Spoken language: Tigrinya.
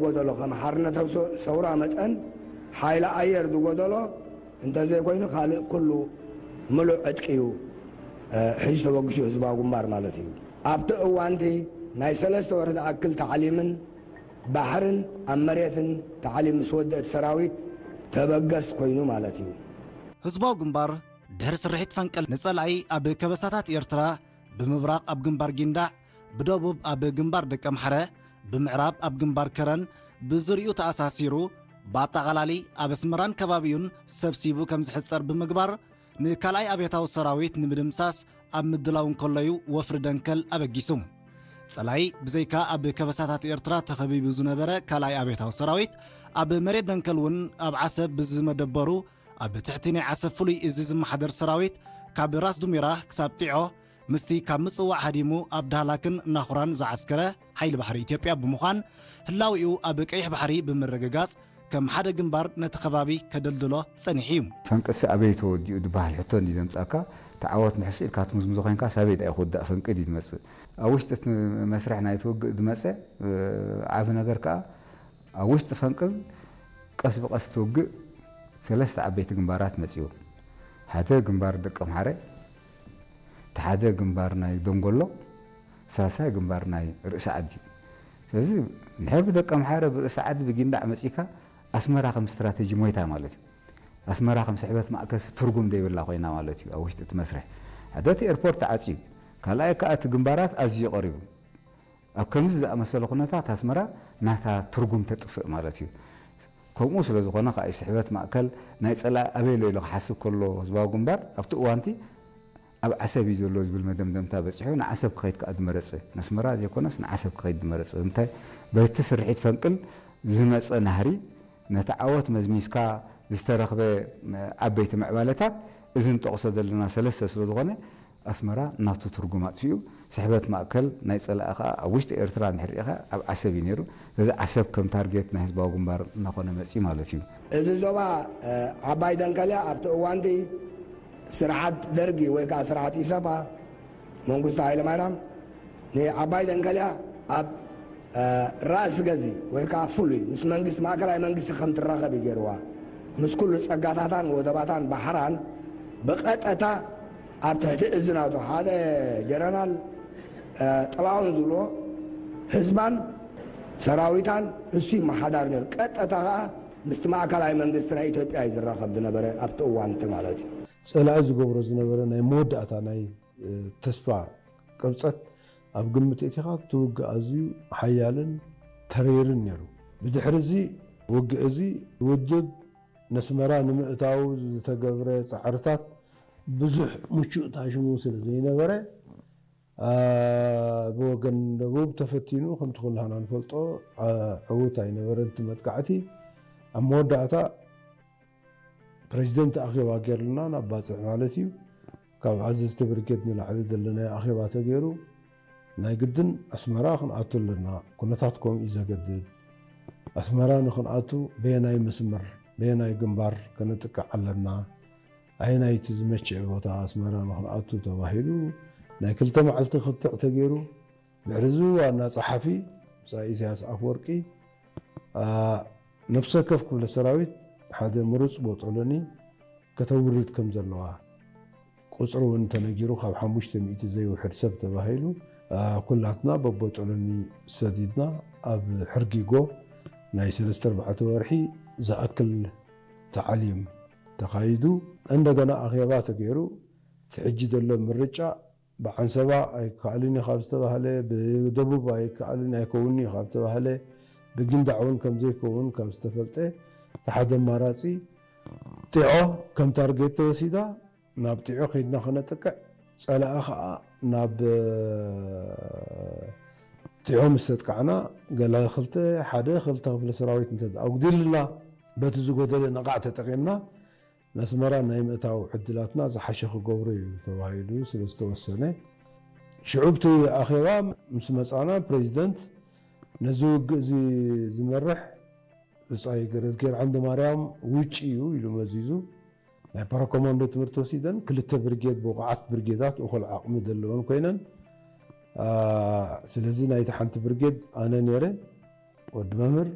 ጎደሎ ከም ሓርነታዊ ሰ- ሰውራ መጠን ሓይሊ ኣየር ዝጎደሎ እንተዘይኮይኑ ካልእ ኩሉ ምሉእ ዕጥቂ እዩ እ፣ ሒዙ ተበግሹ ህዝባዊ ግንባር ማለት እዩ። ኣብቲ እዋንቲ ናይ ሰለስተ ወርሒ ዝኣክል ታዕሊምን ባሕርን ኣብ መሬትን ታዕሊም ምስ ወደእት ሰራዊት ተበገስ ኮይኑ ማለት እዩ። ህዝባዊ ግንባር ድሕሪ ስርሒት ፈንቅል ንጸላኢ ኣብ ከበሳታት ኤርትራ ብምብራቕ ኣብ ግንባር ጊንዳዕ፣ ብደቡብ ኣብ ግንባር ደቀምሓረ፣ ብምዕራብ ኣብ ግንባር ከረን ብዙሪኡ ተኣሳሲሩ ብኣጠቓላሊ ኣብ ኣስመራን ከባቢኡን ሰብሲቡ ከም ዝሕጸር ብምግባር ንካልኣይ ኣብዮታዊ ሰራዊት ንምድምሳስ ኣብ ምድላው እንከሎዩ ወፍሪ ደንከል ኣበጊሱ። ጸላኢ ብዘይካ ኣብ ከበሳታት ኤርትራ ተኸቢቡ ዝነበረ ካልኣይ ኣብዮታዊ ሰራዊት ኣብ መሬት ደንከል እውን ኣብ ዓሰብ ብዝመደበሩ ኣብ ትሕቲ ናይ ዓሰብ ፍሉይ እዚ ዝመሓደር ሰራዊት ካብ ራስ ዱሜራ ክሳብ ጢዖ ምስቲ ካብ ምጽዋዕ ሃዲሙ ኣብ ዳህላክን ናኹራን ዝዓስከረ ሓይሊ ባሕሪ ኢትዮጵያ ብምዃን ህላዊኡ ኣብ ቀይሕ ባሕሪ ብምርግጋጽ ከም ሓደ ግንባር ነቲ ከባቢ ከደልድሎ ጸኒሑ እዩ። ፈንቅሲ ኣበይ ተወዲኡ ዝበሃል ሕቶ እንዲ ዘምጻካ ተዓወት ንሕሱ ኢልካ ትምዝምዞ ኮይንካ ሳበይ ዳኣ ክውዳእ ፈንቅል እዩ ዝመጽእ ኣብ ውሽጢ እቲ መስርሕ ናይ ትውግእ ዝመጸ ዓቢ ነገር ከኣ ኣብ ውሽጢ ፈንቅል ቀስ ብቀስ ትውግእ ሰለስተ ዓበይቲ ግንባራት መጺኡ ሓደ ግንባር ደቀምሓረ እቲ ሓደ ግንባር ናይ ደንጎሎ ሳልሳይ ግንባር ናይ ርእሲ ዓዲ ስለዚ ንሕር ብደቀምሓረ ብርእሲ ዓዲ ብጊንዳዕ መጺካ ኣስመራ ከም ስትራተጂ ሞይታ ማለት እዩ ኣስመራ ከም ስሕበት ማእከል ትርጉም ዘይብላ ኮይና ማለት እዩ ኣብ ውሽጢ እቲ መስርሕ ሓደ እቲ ኤርፖርት ተዓፅዩ ካልኣይ ከዓ እቲ ግንባራት ኣዝዩ ቀሪቡ ኣብ ከምዚ ዝኣመሰለ ኩነታት ኣስመራ ናታ ትርጉም ተጥፍእ ማለት እዩ ከምኡ ስለ ዝኾነ ከዓ ስሕበት ማእከል ናይ ፀላኢ ኣበይ ኣሎ ኢሉ ክሓስብ ከሎ ህዝባዊ ግንባር ኣብቲ እዋንቲ ኣብ ዓሰብ እዩ ዘሎ ዝብል መደምደምታ በፂሑ ንዓሰብ ክኸይድ ከዓ ዝመረፀ ነስመራ ዘይኮነስ ንዓሰብ ክኸይድ ዝመረፀ እንታይ በቲ ስርሒት ፈንቅል ዝመፀ ናህሪ ነቲ ዓወት መዝሚዝካ ዝተረኽበ ዓበይቲ ምዕባለታት እዚ ንጠቕሶ ዘለና ሰለስተ ስለ ዝኾነ ኣስመራ ናቱ ትርጉም ኣጥፊኡ ስሕበት ማእከል ናይ ጸላኢ ከኣ ኣብ ውሽጢ ኤርትራ እንድሕር ርኢኻ ኣብ ዓሰብ እዩ ነይሩ። ስለዚ ዓሰብ ከም ታርጌት ናይ ህዝባዊ ግንባር እናኾነ መጺኡ ማለት እዩ። እዚ ዞባ ዓባይ ደንከልያ ኣብቲ እዋንቲ ስርዓት ደርጊ ወይ ከዓ ስርዓት ኢሰፓ መንግስቱ ሃይለማርያም ንዓባይ ደንከልያ ኣብ ራእሲ ገዚ ወይ ከዓ ፍሉይ ምስ መንግስቲ ማእከላይ መንግስቲ ከም ትራኸብ እዩ ገይርዋ። ምስ ኩሉ ጸጋታታን ወደባታን ባሕራን ብቐጠታ ኣብ ትሕቲ እዚ ናቱ ሓደ ጀነራል ጥላውን ዝብሎ ህዝባን ሰራዊታን እሱ ይመሓዳር ነይሩ። ቀጠታ ከዓ ምስቲ ማእከላይ መንግስቲ ናይ ኢትዮጵያ እዩ ዝራኸብ ዝነበረ ኣብቲ እዋንቲ ማለት እዩ። ጸላኢ ዝገብሮ ዝነበረ ናይ መወዳእታ ናይ ተስፋ ቅብጸት ኣብ ግምት እቲኻ እቲ ውግእ ኣዝዩ ሓያልን ተሪርን ነይሩ። ብድሕሪ እዚ ውግእ እዚ ውድብ ነስመራ ንምእታው ዝተገብረ ጻዕርታት ብዙሕ ምቹእ ታሽሙ ስለ ዘይነበረ ብወገን ደቡብ ተፈቲኑ ከምቲ ኩላህና ንፈልጦ ዕዉት ኣይነበረን እቲ መጥቃዕቲ ኣብ መወዳእታ ፕሬዚደንት ኣኼባ ጌርልና ናብ ባፅዕ ማለት እዩ ካብ ኣዘዝቲ ብርጌድ ንላዕሊ ዘለናዮ ኣኼባ ተገይሩ ናይ ግድን ኣስመራ ክንኣቱ ኣለና ኩነታት ከምኡ እዩ ዘገድድ ኣስመራ ንክንኣቱ በየናይ መስመር በየናይ ግንባር ከነጥቅዕ ኣለና ኣየናይቲ ዝመችእ ቦታ ኣስመራ ንክንኣቱ ተባሂሉ ናይ ክልተ መዓልቲ ክትዕ ተገይሩ ድሕሪ እዚ ዋና ፀሓፊ ብፃ ኢሳያስ ኣፈወርቂ ነፍሰ ከፍ ክፍለ ሰራዊት ሓደ ምሩፅ ቦጦሎኒ ከተውርድ ከም ዘለዋ ቁፅሪ እውን ተነጊሩ ካብ ሓሙሽተ ሚእቲ ዘይውሕድ ሰብ ተባሂሉ ኩላትና በቦጦሎኒ ሰዲድና ኣብ ሕርጊጎ ናይ ሰለስተ ኣርባዕተ ወርሒ ዝኣክል ታዕሊም ተኻይዱ እንደገና ኣኼባ ተገይሩ እቲ ሕጂ ዘሎ ምርጫ ብዓንሰባ ኣይከኣልን እዩ ካብ ዝተባህለ ብደቡብ ኣይከኣልን ኣይከውንን እዩ ካብ ዝተባህለ ብጊንዳዕ እውን ከም ዘይከውን ካብ ዝተፈልጠ እቲ ሓደ ኣማራፂ ጢዖ ከም ታርጌት ተወሲዳ ናብ ጢዖ ከይድና ከነጥቅዕ ፀላኢ ከዓ ናብ ጢዖ ምስ ተጥቃዕና ገለ ክልተ ሓደ ክልተ ክፍለ ሰራዊት እንተ ኣጉዲልና በቲ ዝጎደለ ነቓዕ ተጠቒምና ነስመራ ናይ ምእታው ዕድላትና ዝሓሸ ክገብሮ እዩ ተባሂሉ ስለ ዝተወሰነ ሽዑ ብቲ ኣኼባ ምስ መፃና ፕሬዚደንት ነዚ ውግእ እዚ ዝመርሕ ብፃይ ገረዝጌር ዓንደ ማርያም ውጭ እዩ ኢሉ መዚዙ ናይ ፓራኮማንዶ ትምህርቲ ወሲደን ክልተ ብርጌድ ብቑዓት ብርጌዳት እኹል ዓቕሚ ዘለወን ኮይነን ስለዚ ናይቲ ሓንቲ ብርጌድ ኣነ ነይረ ወዲ መምህር